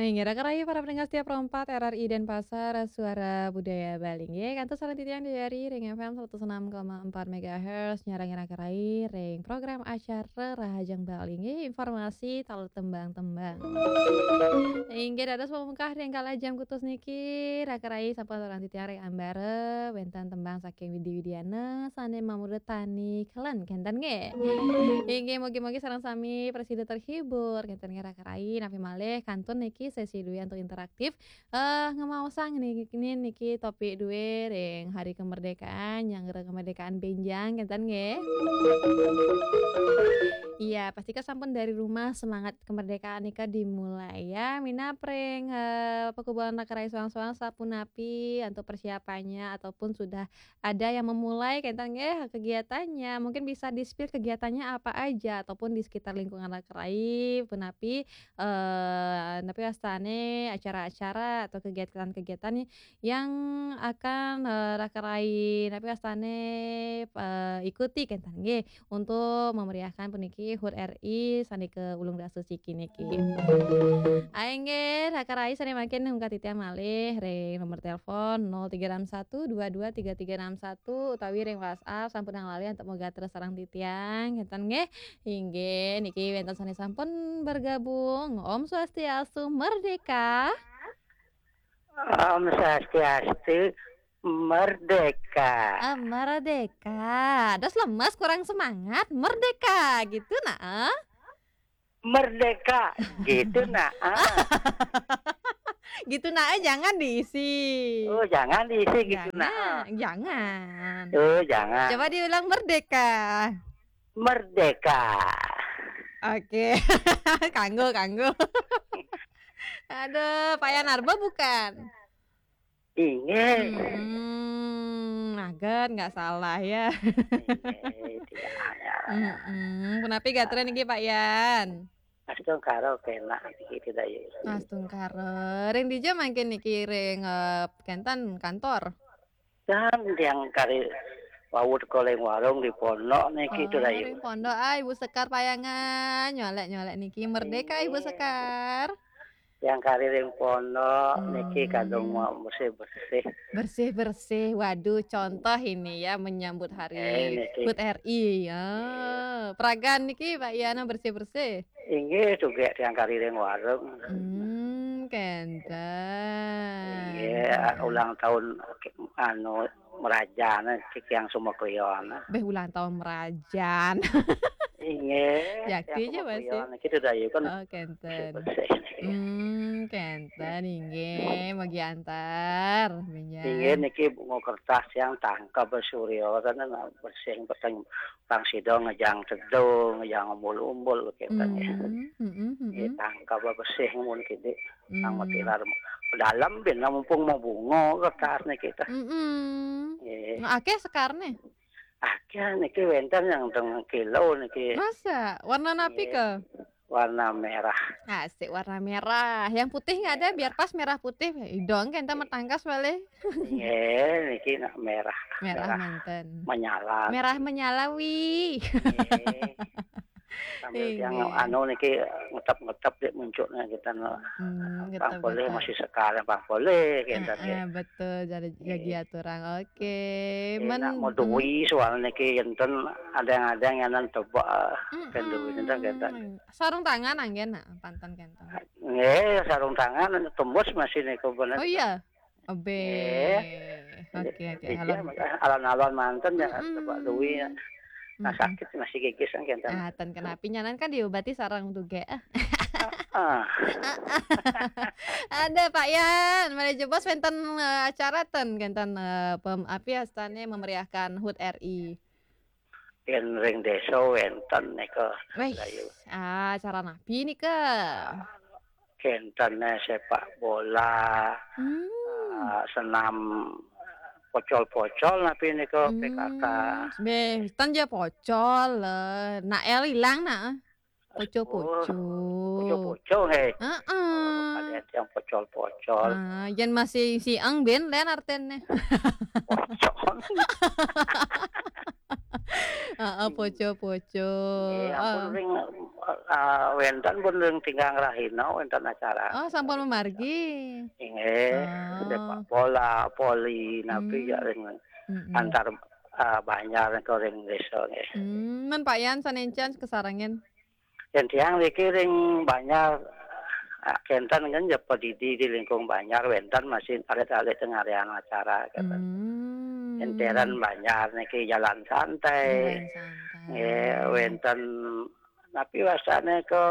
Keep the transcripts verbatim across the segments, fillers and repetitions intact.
Inggih, raka rayi para pendengar setia Pro empat R R I Denpasar, Suara Budaya Bali. Inggih, kantun sareng titiang di R R I ring F M seratus enam koma empat megahertz, nyarengin raka rayi ring program acara Rahajeng Bali. Inggih, informasi taler tembang-tembang. Inggih, dados pamungkah ring kala jam kutus niki, raka rayi sampun sareng titiang ring ambara, wénten tembang saking Widi Widiana, sané mamurda Tani Kelen, kénten nggih. Inggih, mugi-mugi sareng sami prasida terhibur, kénten nggih raka rayi, napi malih kantun niki sesi dué antuk interaktif. Eh, ngemaosang niki, niki topik dué ring Hari Kemerdekaan, nyanggra kemerdekaan bénjang, kénten nggih. Iya, pastika sampun dari rumah semangat kemerdekaan nika dimulai ya. Minab ring, eh, pakubuan raka rayi soang-soang sapunapi antuk persiapannya ataupun sudah ada yang memulai kénten nggih kegiatannya. Mungkin bisa di-spill kegiatannya apa aja ataupun di sekitar lingkungan raka rayi punapi, eh, napi wastané acara-acara atau kegiatan-kegiatan yang akan, eh, raka rayi napi wastané, eh, ikuti kénten nggih untuk memeriahkan puniki HUT R I sané kaulung dasa siki niki. Inggih, raka rayi sané mangkin nungkah titiang malih ring nomor telepon nol tiga enam satu dua dua tiga tiga enam satu utawi ring WhatsApp sampun nang lali antuk magatra sareng titiang, kénten nggih. Inggih, niki wénten sané sampun bergabung. Om Swastiastu, merdeka. Om Swastiastu, merdeka. Ah, merdeka. Dos lemes, kurang semangat, merdeka gitu nah. Merdeka gitu nah. Gitu nah, jangan diisi. Oh, jangan diisi gitu nah. Jangan, jangan. Oh, jangan. Coba diulang, merdeka. Merdeka. Oke. Kanggo, kanggo. Aduh, Pak Yanarba bukan? Inggih. Hmm, agan nggak salah ya. Inggih, tidak ada. Mm-mm. Punapi gatra niki, Pak Yan? Astungkara kénak niki, tidak ya. Astungkara. Ring dija mangkin niki, ring, eh, kénten kantor? Dan yang kari wau teka ring warung di pondok niki, oh, tuh, Dayu. Ring pondok, ah, Ibu Sekar Payangan. Nyolek-nyolek niki. Merdeka, Ibu Sekar. Yang kari ring pondok niki kadung mau bersih-bersih. Bersih-bersih. Waduh, contoh ini ya menyambut hari, eh, niki, HUT R I ya. Iya. Pragan niki, Pak Yana, bersih-bersih. Inggih, tuh gek tiang kari ring warung. Hmm, kénten. Inggih, ulang tahun, anu, merajan, cik yang semua klion. Beh, ulang tahun merajan. Inggih, yakti yang aja semua masih klion. Gitu dah, ya kan. Oh, kénten. Bersih-bersih. Hmm, kénten, inggih, magi antar, minyak. Inggih, niki bunga kertas yang tangkap surya, kan, bersih, peteng, pang sida ngejang teduh, ngejang umbul-umbul, kénten, ya. Hmm, hmm, hmm, hmm. Nggih, tangkap bersih mun kidi. Nang matilar dalam bin, nah, mumpung mau bunga kertas niki tah. Mm-mm. Nggih. Nah, akéh sekarné? Akéh niki wénten yang teng kilo niki. Masa? Warna napi, nggih, ké? Warna merah. Asik, warna merah. Yang putih nggak ada, biar pas merah putih. Idong kan, nggih, matangkas balik. Nggih, niki nak merah. Merah, merah manten. Menyala. Merah menyala, wi. Nggih. Sambil, inggih, tiang anu niki ngetep-ngetep dek muncuknya kita, no. Hmm, pang ngetep-ngetep. Boleh masih sekarang, pang boleh kita. Heeh, nggih. Betul, jadi, nggih, jagi aturang. Oke. Enak men-, mau duwi soalnya niki enten ada yang, ada yang nyanan tebak, mm-mm, kan duwi enten kita. Sarung tangan anggén, nah, panten kénten. Nggih, sarung tangan tembus masih niku bener. Oh iya. Abe. Nggih. Oke, oke. Iya, alon-, alon-alon manten ya, mm-mm, tebak duwi ya. Nah, mm-mm, sakit masih gigis kan kénten. Ah, ten kenapi nyanan kan diobati sareng duge. Ah. Ah. Ada Pak Yan, malih jebos wénten, eh, acara ten kénten, eh, pem-, api astané memeriahkan HUT R I. Yén ring désa wénten nika. Wéh, Dayu. Ah, acara napi nika? Kénten sepak bola, hmm, ah, senam pocol-pocol napi nika, hmm, P K K. Béh, ten ja pocol, eh. Nak el ilang nak. Poco-poco. Oh, poco-poco, nggih. Heeh. Oh, kalian yang pocol-pocol. Ah, yén masih siang bén lén artiné. Pocol. Heeh, poco-poco. Nggih, ampun, ring, eh, wénten pun ring Tinggang Rahina wénten acara. Oh, sampun mamargi. Nggih, sepak bola, voli, napi ya ring antar, eh, banjar nika ring désa nggih. Hmm, men Pak Yan sané encan kasarengin. Yén tiang niki ring banjar, eh, kénten kan ya padidi di lingkung banjar wénten masih alit-alit tengah acara kénten. Hmm. Enteran banjar niki jalan santai. Jalan santai. Nggih, wénten napi wastané ke,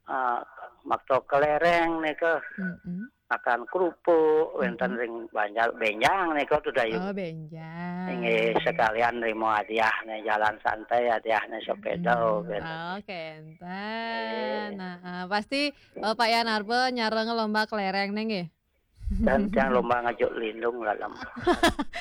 ah, makta kelereng nika. Mm-mm. Makan kerupuk, wénten ring banjar, bénjang nika tuh dayu. Oh, bénjang. Nggih, sekalian nrimo hadiah nih, jalan santai hadiah nih sepeda, gitu. Oh, kénten. Nggih. Nah, eh, pasti, eh, Pak Yan Arba nyareng lomba kelereng nih, nggih? Dan tiang lomba ngajuk lindung dalam.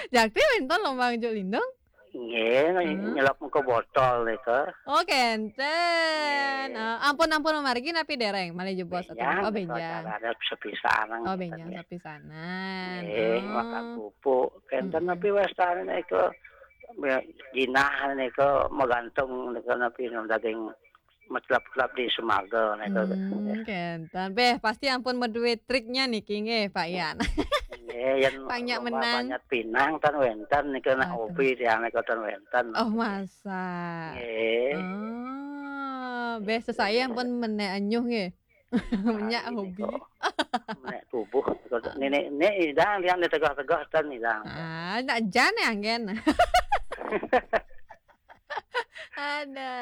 Jakti wénten lomba ngajuk lindung? Nggih, nyelap ke botol nika. Oh, kénten. Nggih. Ah, ampun-ampun mamargi napi déréng malih jebos? Bénjang, oh, bénjang. Acara ada sepisanan. Oh, bénjang nggih. Sepisanan. Nggih, makan kerupuk. Kénten napi wastané nika, ya, jinah nika magantung nika napi daging metlap-tlap di semaga nika. Hmm, kénten. Béh, pasti ampun madué triknya niki nggih, Pak Yan. Nggih, yén pang nyak menang. Panjat pinang tan wénten nika nak hobi tiang nika tan wénten. Oh, masa. Nggih. Oh, béh sesai ampun menék enyuh nggih. Menyak hobi. Menék tubuh. Nénék, nék idang tiang ditegah-tegah tan idang. Ah, nak jan ya, anggen. Ada,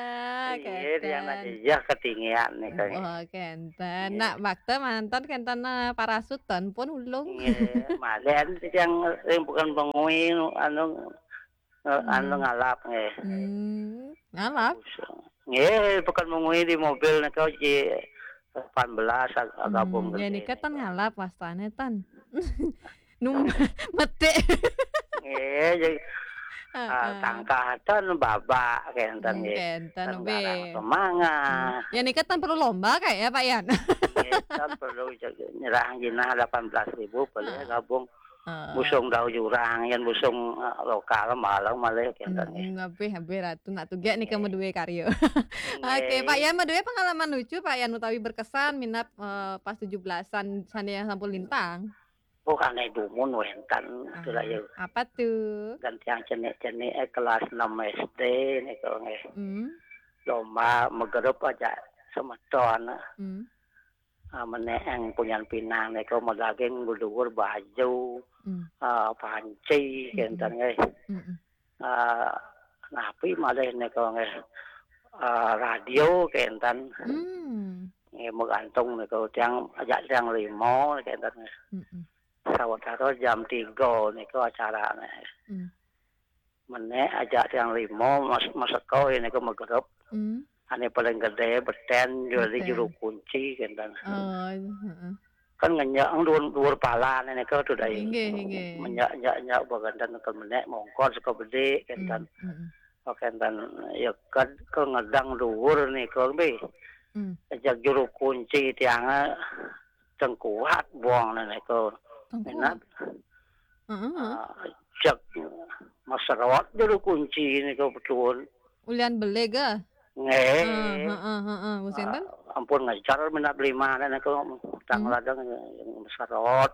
iya, dia nak jejah ketinggian nih, kan. Oh, kénten. Iya. Nak bakta manten kénten, eh, parasutan pun ulung. Iya, malian yang ring Pekan Bangui, anu, eh, anu ngalap, nggih. Hmm, ngalap? Nggih, Pekan Bangui di mobil nika ji delapan belas ag-, gabung. Ya, nika tan ngalap wastané tan. Num-, metik. Nggih, jadi, ah, tangkah tan babak kénten nggih. Kénten, tan garang semangah. Ya, nika tan perlu lomba kayak ya, Pak Yan? Nggih, tan perlu, nyerah jinah delapan belas ribu, boleh gabung. Busung dauh jurang, yén busung, eh, lokal malah malih kénten nggih. Hmm, lebih, lebih Ratu nak tugék nika madué karya. Nggih. Oke, Pak Yan, madué pengalaman lucu, Pak Yan, utawi berkesan minab, eh, pas tujuh belasan sané yang sampun lintang? Oh, ané dumun wénten, itulah ya. Apa tuh? Dan tiang cenik-cenik, eh, kelas enam S D nika nggih. Hmm. Lomba magerep aja semeton. Hmm. Ah, menék yang punyan pinang nika madaging beduur baju, ah, panci, kénten nggih. Ah, napi malih nika nggih, ah, radio kénten. Hmm. Nggih, magantung nika tiang ajak tiang lima kénten nggih. Mm-mm. Sawetara jam tiga nika acarané. Hmm. Menék ajak tiang lima mas-, maseka nika magerep. Hmm. Ané paling gedé betén, jadi juru kunci kénten. Oh, heeh. Kan ngenjek duur, duur palané nika tuh dai. Inggih, inggih. Menjak-jak-jak bagénten ke menék mongkos ke bedik kénten. Hmm, hmm. Oh, kénten ya ke, ke ngedang duur nika, nggih. Hmm. Ajak juru kunci tiangé Tengku Wat Bong nika. Tengku Wat. Minab. Heeh, heeh. Ah, cek maserot juru kunci nika betuun. Ulian beli ga? Nggih. Heeh, heeh, heeh. Wis énten? Ah, ampun ngejar minab lima nika tang ladang maserot.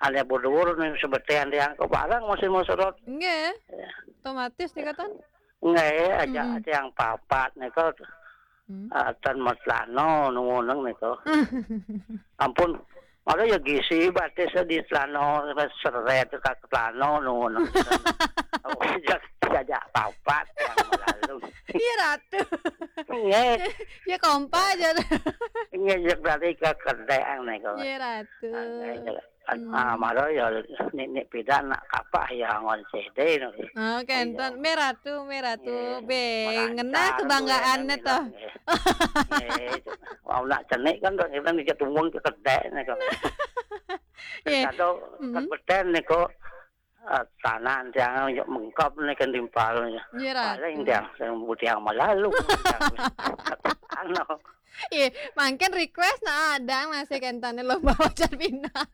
Ané beduur nih sebetén tiang ke barang masih maserot. Nggih. Ya. Otomatis nika tan? Nggih, ajak tiang papat nika. Hmm. Ah, tan matlana nuwunang nika. Ampun, malah ya gisi batis di tlana seret ka tlana nuwunang. Oh, jak, ajak papat tiang lalu. Iya, Ratu. Nggih. Ya kompak aja. Nggih, jak dari ke kedék nika. Iya, Ratu. Ah, nggih, jak. Ah, mara ya nik-nik pidan nak kapah ya ngon C D no. Oh, kénten. Iya. Mé Ratu, mé Ratu. Nggih. Bé, ngena kebanggaanné to. Nggih. Nggih. Mau nak cenik kan to, kita nih tumbung ke kedék nih kan. Nggih. Kado kan betén nih kok, ah, tanah tiang yuk mengkap nih kan timpal nih. Nggih, Ratu. Paling tiang sing butiang malalu. Anu. Iya, mangkin request nah ada masih kénten lomba wacan pinang.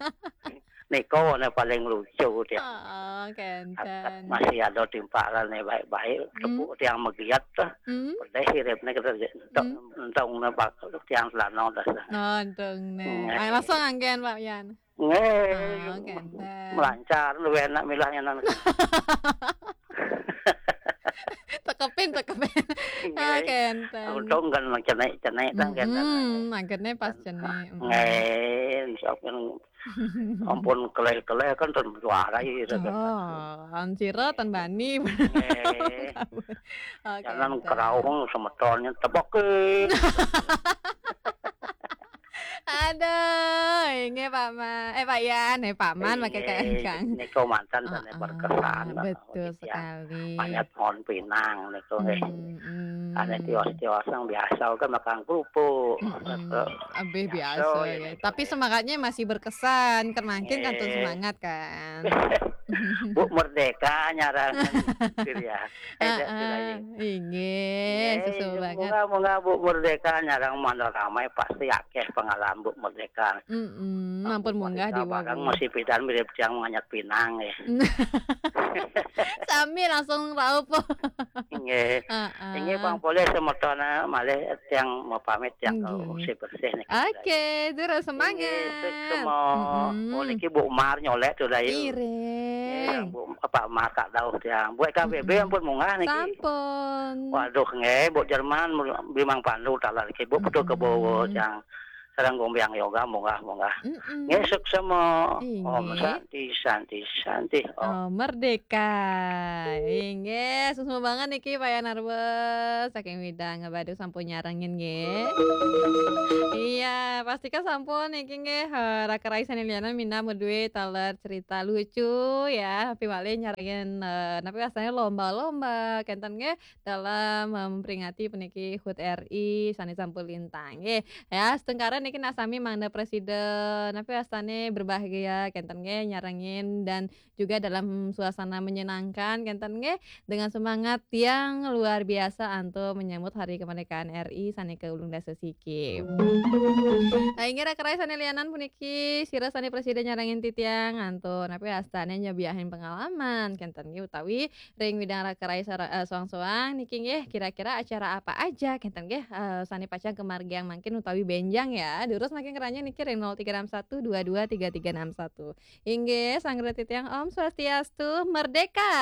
Niko ne paling lucu dia. Oh, kenten. Masih ada timpalan ne baik-baik, hmm, tepuk tiang megiat tuh. Hmm. Pedeh hiripne kita je. Entong, hmm, entong ne bak tiang selano dah. Oh, entong ne. Nggih. Ay, langsung anggen, Pak Yan. Nggih. Oh, kenten. Melancar, luwih enak milahnya nan. Tekepin, tekepin. Nggih. Oh, kenten. Untung kan cenik-cenik kan kenten. Mm-mm, angkene pas cenik. Mm. Nggih, sok kan ampun keleh-keleh kan ten juara ya, gitu kan. Oh, ancira ten bani. Nggih. Oh, jangan kenten. Kerauh semetonnya tebokin. Aduh, inggih Pak Ma-, eh, Pak Yan, eh, Pak Man, pakai K N Kang. Inggih, niko mantan dan berkesan. Heeh, betul sekali. Banyak pohon pinang niko, nggih. Hmm, hmm. Ane tios-tios yang biasa kan makan kerupuk. Mm-mm. Abih biasa, ya. Tapi semangatnya masih berkesan, kan mangkin kantun semangat, kan. Bu Merdeka nyarang, gitu ya. Heeh, inggih, susul banget. Moga-moga Bu Merdeka nyarang mandor ramai, pasti akeh pengalaman Bu Merdeka. Mm-mm, ampun munggah di barang masih pidan mirip tiang menganyat pinang, ya. Sami langsung raup. Inggih. Heeh. Inggih, Bang Polih semetona malih tiang mau pamit tiang kalau bersih-bersih nih. Oke, terus semangat. Inggih, sukses semua. Mm-mm. Oh, niki Bu Mar nyolek tuh dah, ya. Iring. Nggih, Bu, apa, Mar tak tahu tiang. Bu K B B ampun munggah niki. Sampun. Waduh, nggih, Bu Jerman, Bimang Pandu talar niki, Bu, betul ke bawa tiang. Sareng Gombiang Yoga, munggah, munggah. Mm-mm. Nggih, suksema. Inggih. Om Santi, Santi, Santi. Om. Oh, merdeka. Inggih, suksema banget niki Pak Yanarwa saking Widang Ngebadu sampun nyarengin nggih. Iya, pastika sampun niki nggih, eh, raka rai sane lianan minab ngeduwe taler cerita lucu ya, tapi malih nyarengin, eh, napi wastane lomba-lomba kenten nggih. Dalam, eh, memperingati puniki hut R I sane sampun lintang nggih. Ya, setungkara niki nak sami mangda presiden, napi wastane berbahagia kenten nggih, nyarengin dan juga dalam suasana menyenangkan kenten nggih, dengan semangat yang luar biasa antuk menyambut hari kemerdekaan R I sane ke ulung dasa siki. Nah, inggih raka rai sane lianan puniki sira sane presiden nyarengin titiang antuk napi wastane nyebiahin pengalaman kenten nggih utawi ring widang raka rai sara-, eh, soang-soang niki nggih, kira-kira acara apa aja kenten nggih, eh, sane pacang kemargiang mangkin utawi benjang ya. Durus mangkin keranjang niki ring nol tiga enam satu dua dua tiga tiga enam satu. Inggih, sanggra titiang Om Swastiastu, merdeka.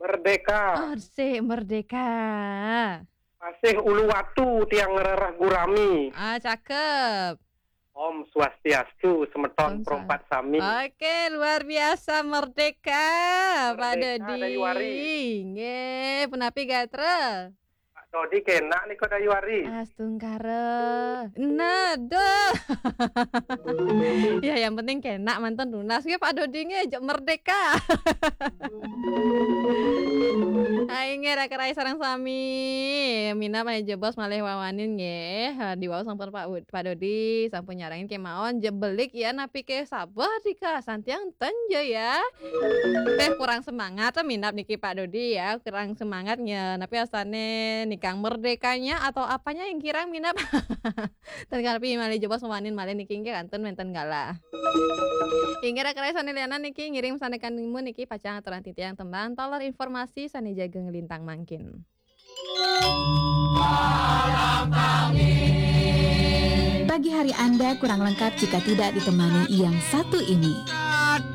Merdeka. Oh, sik, merdeka. Masih Uluwatu tiang ngrereh gurami. Ah, cakep. Om Swastiastu, semeton perompat sami. Oke, luar biasa merdeka, Pak Dodi. Merdeka, Dayuari. Nggih, punapi gatra? Pak Dodi kenak nika Dayuari. Astungkara. Nah, duh. Ya, yang penting kenak manten tunas nggih Pak Dodi nggih, jek merdeka. Ayo nggih raka rai sareng sami. Minab malih jebos malih wawanin nggih. Ha, diwau sampun Pak Wud-, Pak Dodi sampun nyarengin kemawon jebelik ya napi ke sabar dika santiang ten ja ya. Teh kurang semangat tuh minab niki Pak Dodi ya, kurang semangatnya. Napi astane nikang merdekanya atau apanya yang kirang minab? Ten karepi malih jebos wawanin malih niki nggih kantun wenten galah. Inggih raka rai sane lianan niki ngiring sane kanimu niki pacang aturan titiang tembang taler informasi sane jaga ngelintang mangkin. Pagi hari Anda kurang lengkap jika tidak ditemani yang satu ini.